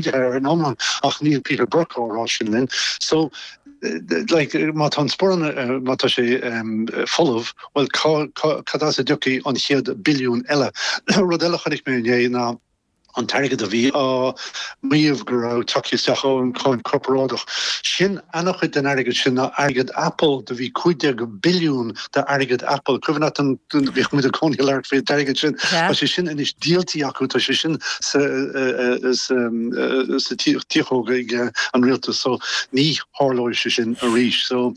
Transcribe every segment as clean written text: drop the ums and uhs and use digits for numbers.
Ar an iomlán, ach níl Peter Burke á rá sin linn. So, like, má tá an sporán, má tá sé folamh, bhuel, cad as a dtiocfaidh an chéad billiún eile? Rud eile a chonaic mé inné ná an t-airgead a bhí á maíomh go raibh tagtha isteach ón cháin chorparáideach. Sin ana-chuid den airgead sin ná airgead Apple. Do bhí 15 billiún d'airgead Apple. Cuimhin leat an, bhíodh muid i gcónaí ag labhairt faoin airgead sin. Tá sé sin anois díoltaí acu, tá sé sin sa sa tiachóg ag an rialtas so ní tharlóidh sé sin arís. So.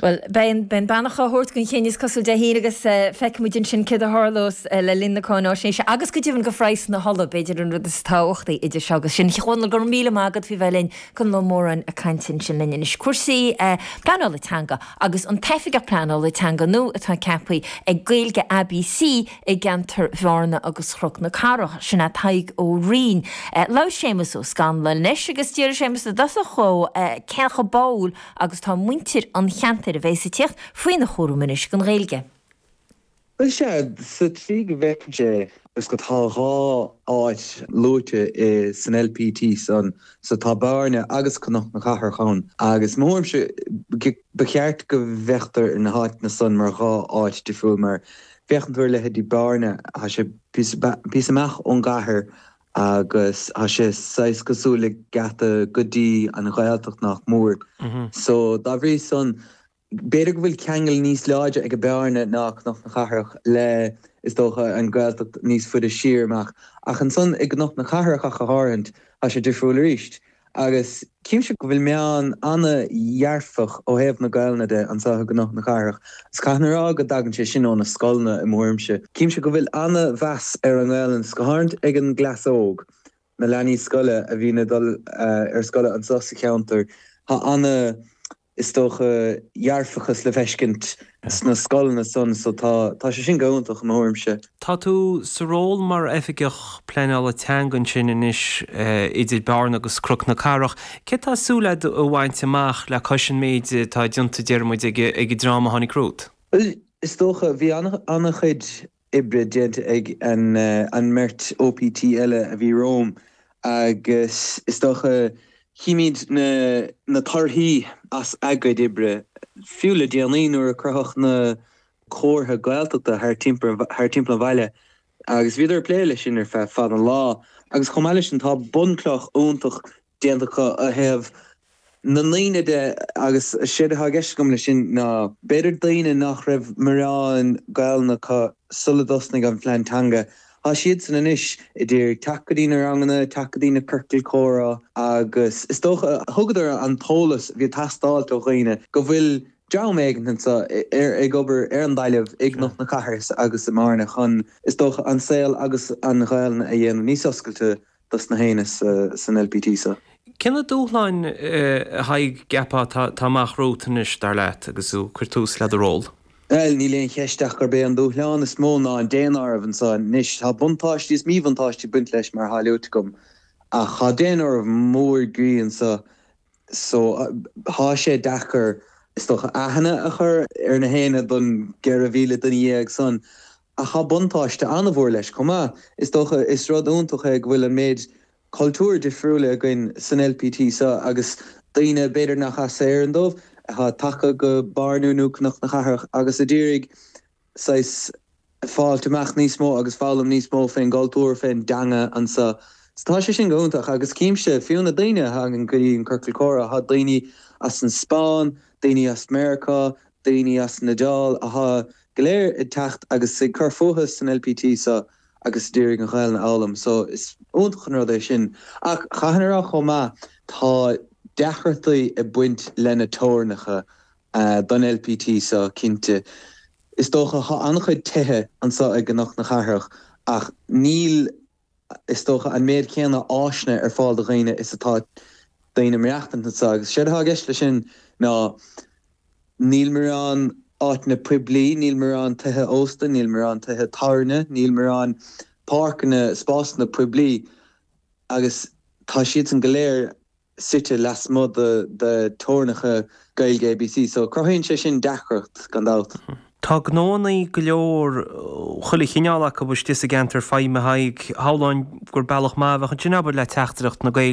Bhuel, beidh an beidh an beannacht á thabhairt don chinneadh is cosúil Dé hAoine agus feicfidh muid ansin céard a tharlós le linn na cáináisnéise agus go deimhin go phraghsanna na hola, b'fhéidir an rud is tábhachtaí idir seo agus sin. A Chonaill, go raibh míle maith agat faoi bheith linn. Conall Ó Móráin ag caint ansin linn anois. Cúrsaí pleanála teanga agus an tOifigeach Pleanála Teanga nua atá ceaptha ag Gaeilge ABC i gceantar Bhearna agus Chnoc na Cathrach, sin é Tadhg Ó Rinn. Labhair Séamus Ó Scanláin leis agus d'fhiafraigh Séamus i dtosach dhó cé chomh báúil agus atá muintir an cheantair a bheas ag tíocht faoina chúram anois don Ghaeilge. Bhuel, sea, sa tslí go bhfeicimse é, is go tá dhá áit luaite i san LPT san, so tá Bearna agus Cnoc na Cathrach ann, agus mo thuairimse, ba cheart go bhféachtar ar na háiteanna san mar dhá áit difriúil, mar féachann tú ar leithéidí Bearna, tá sé píosa amach ón gcathair agus tá sé saghas cosúil le geata go dtí an Ghaeltacht nach mór, so dá bhrí san, B'fhéidir go bhfuil ceangal níos láidre ag Bearna ná Cnoc na Cathrach le, is dócha, an Ghaeltacht níos faide siar amach. Ach ansan i gCnoc na Cathrach ach go háirithint, tá sé difriúil arís. Agus címse go bhfuil meon ana-dhearfach ó thaobh na Gaelainne de anso i gCnoc na Cathrach. Agus caithfidh mé a rá go dtagann sé sin ó na scoileanna i mo thuairimse. Címse go bhfuil ana-mheas ar an nGaelainn, 's go háirithint ag an gcleas óg. na leanaí scoile a bhíonn ag dul ar scoile anso sa cheantar, tá ana, is dócha, dhearfachas le feiscint sna scoileanna san so tá, tá sé sin go hiontach i mo thuairimse. Tá tú sa ról mar Oifigeach Pleanála Teanga ansin anois idir Bearna agus Cnoc na Cathrach. Céard tá súil agat a bhaint amach le cois an méid atá déanta, deir muid, ag an dream a tháinig romhat? Bhuel, is dócha, bhí ana-chuid oibre déanta ag an mbeirt OPT eile a bhí romham agus is dócha chímid na torthaí as a gcuid oibre, fiú le déanaí nuair a cruthaíodh na comhartha Gaeltachta thar timpeall an bhaile agus bhíodar ag plé leis sin ar feadh fada an lá agus chomh maith leis sin tá bunchloch iontach déanta acu ó thaobh na ndaoine de agus séard atá i gceist agam leis sin ná b'fhéidir daoine nach raibh morán Gaelainne acu sula dtosnaigh an phlean teanga, tá siadsan anois ag iarraidh teacht go dtí na ranganna, teacht go dtí na ciorcail comhrá agus is dócha thugadar an t-eolas a bhí ag teastáilt ó dhaoine go bhfuil dream éigin anseo ag obair ar an dtalamh i gCnoc na Cathrach agus i mBearna chun is dócha an saol agus an Ghaelainn a dhéanamh níos oscailte dos na héinne san LPT so. Cé na dúshláin, a Thaidhg, a gceapfá atá amach romhat anois, dar leat, agus tú ag cur tús le do ról? Bhuel, níl aon cheist ach gurb é an dúshlán is mó ná an daonáireamh anso anois. Tá buntáistí is míbhuntáistí ag baint leis, mar atá luaite agam, ach tá daonáireamh mór groí anso so tá sé deacair, is dócha, aithne a chur ar na héinne don 14,000 duine san. Ach tá buntáiste an-mhór leis chomh maith. Is dócha, is rud iontach é go bhfuil an méid cultúir difriúla againn san LPT seo agus daoine b'fhéidir nach as Éirinn dóibh, atá tagtha go Bearna nó Cnoc na Cathrach agus a d'iarraidh saghas fáilt amach níos mó agus foghlaim níos mó fén gcultúr, fén dteanga anseo. So tá sé sin go hiontach agus címse, fiú na daoine a thagann go dtí an Ciorcal Comhrá, tá daoine as an Spáinn, daoine as Meiriceá, daoine as an Iodáil atá go léir ag teacht agus ag cur fúthu san LPT so agus ag iarraidh an Ghaelainn a fhoghlaim so is iontach an rud é sin. Ach chaithfinn a rá chomh maith tá deacrachtaí ag baint le na teorainneacha don LPT so cinnte. Is dócha tá an-chuid tithe anso i gCnoc na Cathrach ach níl is dócha, an méid céanna áiseanna ar fáil do dhaoine is atá daoine ag maireachtaint anso. Agus séard atá i gceist leis sin ná níl morán áiteanna poiblí, níl morán tithe ósta, níl morán tithe tábhairne, níl morán páirceanna, spásanna poiblí agus tá siadsan go léir suite lasmuigh de teorainneacha Gaeilge ABC. So cruthaíonn sé sin deacracht, gan dabht. Tá gnóannaí go leor, chuile chineál acu istigh sa gceantar feidhme, a Thaidhg. Shamhlóinn gur bealach maith a bheadh ansin, abair, le teachtaireacht na Gaeilge.